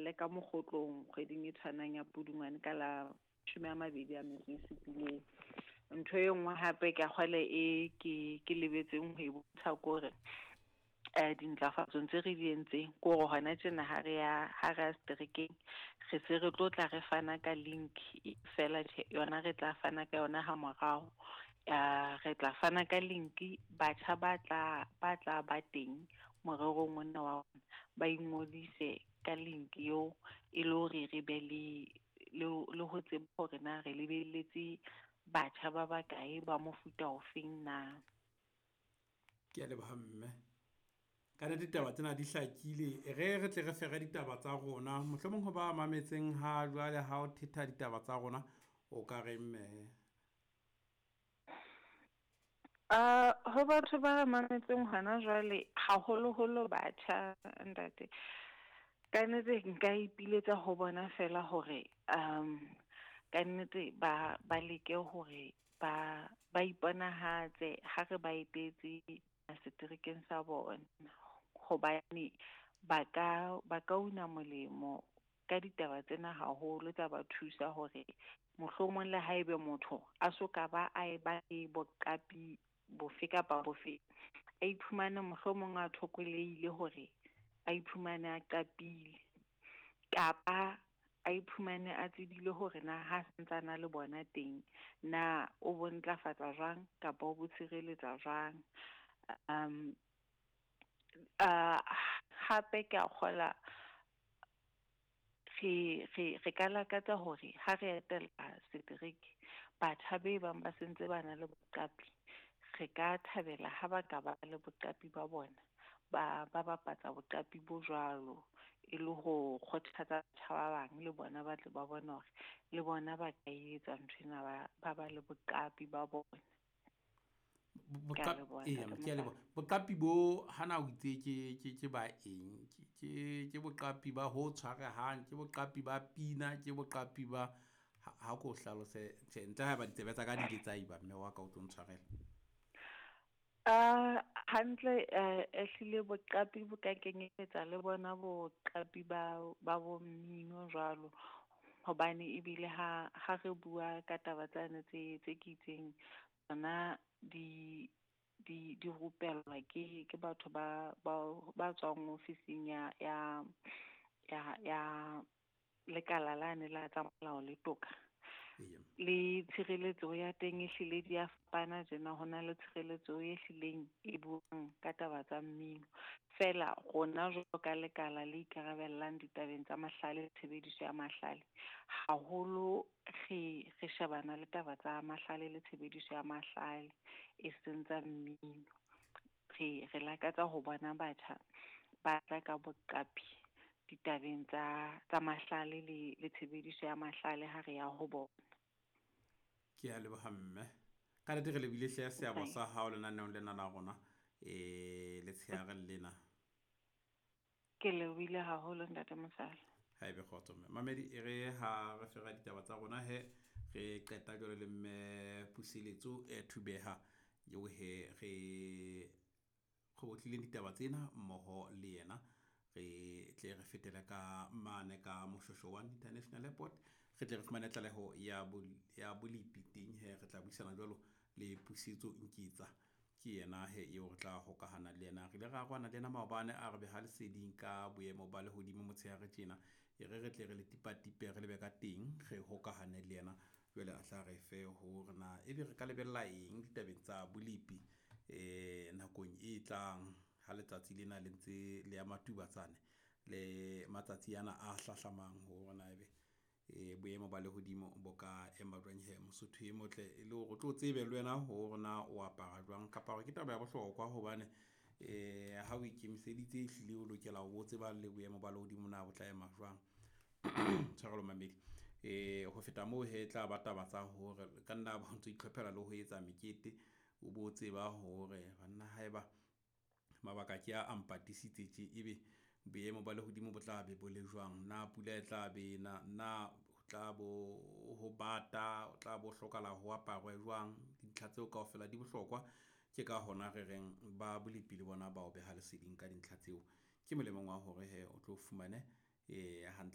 hlahelle ka mokgotlong kgweding e tshwanang ya Pudungwane ka la 27. Ntho e nngwe hape ke a kgwele e ke lebetseng ho e bontsha ke hore dintlafatsong tse re di entseng ke hore hona tjena ha re ya seterekeng, re se re tlo tla re fana ka link fela tjhe, yona re tla fana ka yona ha morao. Re tla fana ka link, batjha ba tla ba teng morerong ona wa rona, ba ingodise ka link eo e le hore re be le ho tseba hore na re lebelletse batjha ba bakae ba mofuta ofeng na. Ke a leboha mme. Ka nnete ditaba tsena di hlakile, re tle re fere ditaba tsa rona. Mohlomong ho ba mametseng ha jwale ha o thetha ditaba tsa rona, o ka reng mme? Ho batho ba mametseng hona jwale, haholoholo batjha ntate, ka nnete nka ipiletsa ho bona fela hore ka nnete ba leke hore ba iponahatse ha re ba etetse seterekeng sa bona, hobane ba ka una molemo ka ditaba tsena haholo, tsa ba thusa hore mohlomong le haebe motho a so ka ba a e ba le boqapi bofe kapa bofe, a iphumane mohlomong a thokolehile hore a iphumane a qapile, kapa a iphumane a tsebile hore na ha santsana le bona teng na o bo ntlafatsa jwang kapa o bo tshireletsa jwang. Hape ke a kgola re ka lakatsa hore ha re etela setereke, batjha be bang ba sentse ba na le boqapi, re ka thabela ha ba ka ba le boqapi ba bona, ba bapatsa boqapi bo jwalo e le ho kgothatsa batjha ba bang le bona ba tle ba bone hore le bona ba ka etsa nthwena, ba le boqapi ba bona. Boqapi bo hana o itse ke ba eng? Ke boqapi ba ho tshwarehang, ke boqapi ba pina, ke boqapi ba ha ko hlalose tjhe, ntle haeba ditsebe tsa ka di ile tsa iba mme wa ka o tlo ntshwarela. Hantle, ehlile boqapi bo ka kenyelletsa le bona boqapi ba bo mmino jwalo, hobane ebile ha re bua ka taba tsane tse ke itseng tsona di rupellwa ke batho ba tswang ofising ya lekala lane la tsa molao le toka. Le tshireletso ya teng ehlile di a fapana tjena, ho na le tshireletso e hlileng e buang ka taba tsa mmino. Fela rona jwalo ka lekala le ikarabellang ditabeng tsa mahlale le tshebediso ya mahlale, haholo re shebana le taba tsa mahlale le tshebediso ya mahlale, e seng tsa mmino. Re lakatsa ho bona batjha ba tla ka boqapi ditabeng tsa mahlale le tshebediso ya mahlale ha re ya ho bona. Ke a leboha mme. Ka nnete re lebile hle seabo sa hao lenaneong lena la rona letshehare lena. Ke lebohile haholo ntate Mosala. Ha ebe kgotso mme. Mamedi e re ha re fera ditaba tsa rona he, re qeta jwale le mme Puseletso Thubeha eo he re kgobotlileng ditaba tsena mmoho le yena. Re tle re fetele ka mane ka Moshoeshoe One International Airport, re tle re fumane tlaleho ya bolepi teng he. Re tla buisana jwalo le Pusetso Nketsa, ke yena he eo re tla hokahana le yena. Re ile ra arohana le yena maobane, a re beha leseding ka boemo ba lehodimo motshehare tjena. E re tle re le tipatipe re lebe ka teng, re hokahane le yena jwale a tla re fe hore na ebe re ka lebella eng ditabeng tsa bolepi nakong e tlang ha letsatsi lena le ntse le ya matubatsane le matsatsi ana a hlahlamang, hore na ebe boemo ba lehodimo bo ka ema jwang he. Mosotho e motle e le hore o tlo tsebe le wena hore na o apara jwang, kapa hore ke taba ya bohlokwa hobane ha o ikemiseditse ehlile o lokela ho tseba le boemo ba lehodimo na bo tla ema jwang. Tshwarelo mamedi. Ho feta moo he tla ba taba tsa hore ka nna ba ntso itlhophela le ho etsa mekete, o bo tseba hore banna haeba mabaka ke a mpatisitse tje, ebe boemo ba lehodimo bo tla be bo le jwang, na pula e tla be na ho tla bo ho bata, o tla bo hlokahala ho aparwe jwang. Dintlha tseo kaofela di bohlokwa, ke ka hona re reng ba bolepi le bona ba o beha leseding ka dintlha tseo. Ke molemong wa hore he o tlo fumane hantle.